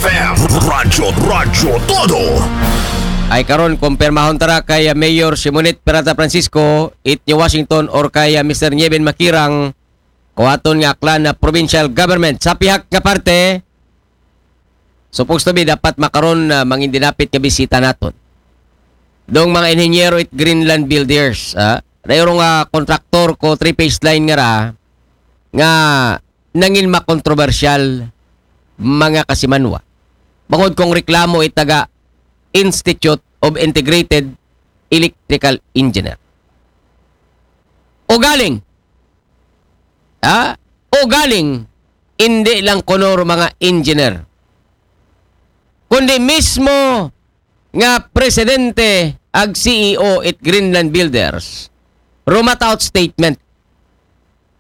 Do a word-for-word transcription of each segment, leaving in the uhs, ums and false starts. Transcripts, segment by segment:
Radyo, Radyo Todo. Ay karon, kumpirmahon tara kay, ah, Mayor Simonette Peralta Francisco, it New Washington, or kay, ah, Mister Nieben Makirang, kuhaton nga Aklan na provincial government. Sa pihak nga parte, supposed to be, dapat makaron na mangin dinapit nga bisita naton. Dong mga inhenyero it Greenland Builders, ah, rayro nga kontraktor ko three-phase line nga ra, nga nangin makontrobersyal, mga kasimanwa. Bangod kong reklamo it taga Institute of Integrated Electrical Engineer. Ugaling, ha? Ugaling, hindi lang kuno mga engineer, kundi mismo nga presidente ag C E O it Greenland Builders, rumataw it statement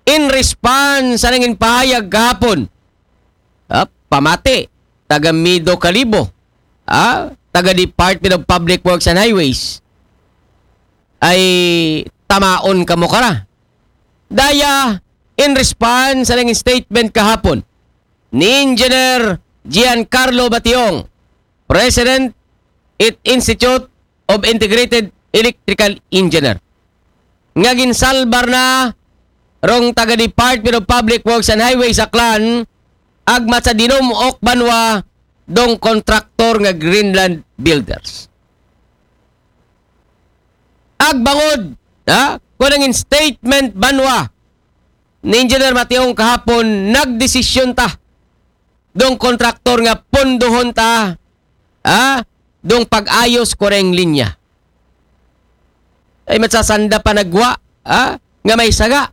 in response sa nangin pahayag kahapon, ah, pamati, taga Mido Kalibo, ah, taga Department of Public Works and Highways, ay tamaon kamo kara. Daya, in response sa nangin statement kahapon ni Engineer Giancarlo Bationg, President it Institute of Integrated Electrical Engineer, nga ginsalbar na rong taga Department of Public Works and Highways Aklan, agmat sa dinum-ok banwa dong kontraktor nga Greenland Builders. Agbangod, ha? Kunangin statement banwa ni Engineer Mationg kahapon, nagdesisyon ta dong kontraktor nga punduhon ta, ah, dong pag-ayos kureng linya. Ay, matsasanda pa nagwa, ah, nga may saga.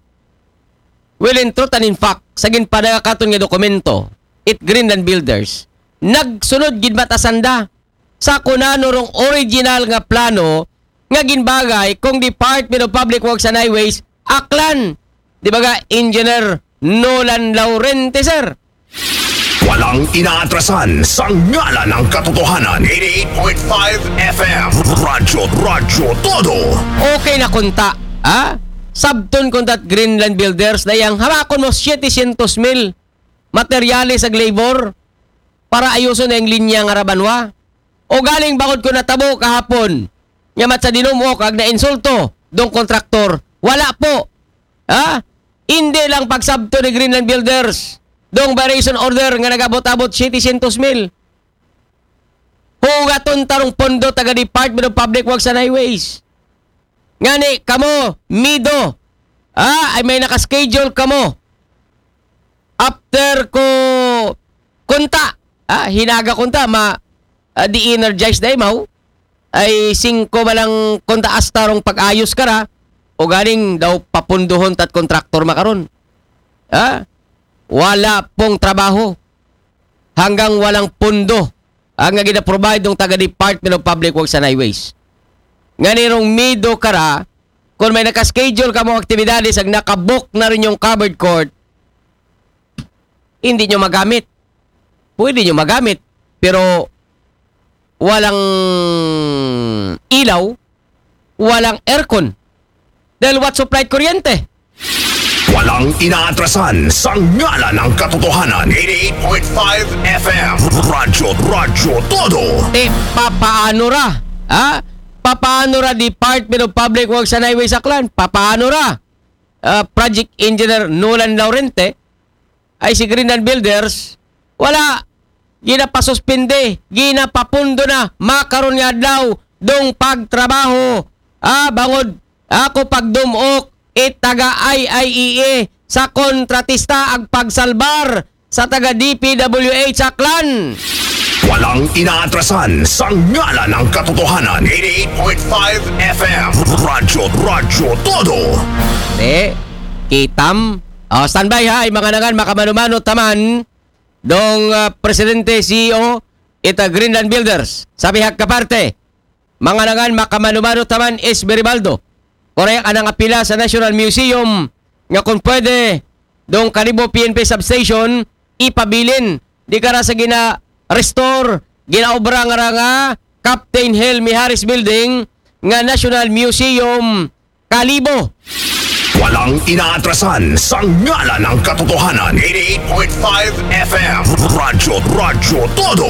Well, in truth and in fact, sa ginpadagakaton nga dokumento, it Greenland Builders, nagsunod gid matsasanda sa kunano rong original nga plano nga ginbagay kong Department of Public Works and Highways, Aklan. Di ba ga, Engineer Nolan Laurente, sir? Walang inaatrasan sa ngalan ng katotohanan. Eighty-eight point five F M. Radyo, Radyo Todo. Okay na kunta, ha? Sabton kunta it Greenland Builders, dayang hamakon mo siyetesyentos mil materyales ag labor para ayuson ang linya nga ra banwa. Ugaling bangod ko natabo kahapon, nga matsa dinum-ok ag nainsulto dong kontraktor, wala po. Ha? Hindi lang pagsabto ni Greenland Builders dong variation order nga nag-abot-abot siyetesyentos mil. Hugaton ta rong pondo taga Department of Public Works and Highways. Ngani kamo, Mido, ah, ay may naka-schedule kamo after ko kunta, ah, hinaga kunta, ma, ah, di energize dai maw, ay singko man lang kunta asta rong pag-ayos kara, ugaling daw papunduhon ta it kontraktor makaron. Ha? Wala pong trabaho hanggang walang pondo ang nga gina-provide ng taga Department of Public Works and Highways. Ngani rong Mido kara, kung may naka-schedule kamo aktibidades ag naka-book na rin yung covered court, hindi nyo magamit. Pwede nyo magamit, pero walang ilaw, walang aircon. Dahil what supplied kuryente? Walang inaatrasan sa ngalan ng katotohanan. Eighty-eight point five F M. Radyo, Radyo Todo. Eh, papaano ra? Ha? Papaano ra Department of Public Works and Highways Aklan? Papaano ra, ah, Project Engineer Nolan Laurente? Ay si Greenland Builders, wala. Ginapasuspinde, ginapapundo na, makaron nga adlaw, dong pagtrabaho. Ah, bangod, ako pagdumok, it taga I I E A sa kontratista ag pagsalbar sa taga D P W H Aklan. Walang inaatrasan sa ngalan ng katotohanan. Eighty-eight point five F M. Radyo, Radyo Todo. Eh, kitam. Oh, standby ha, ay mga nangan, makamano-mano taman. Dong, ah, Presidente, C E O, ita Greenland Builders. Sa bihag kaparte, mga nangan, makamano-mano taman is Beribaldo. Korea ka nang apila sa National Museum nga kung pwede, dong Kalibo P N P Substation, ipabilin. Di kara sa gina-restore, ginaobra nga ra nga Captain Hel Mijares Building nga National Museum, Kalibo. Walang inaatrasan sa ngalan ng katotohanan. Eighty-eight point five F M. Radyo, Radyo Todo.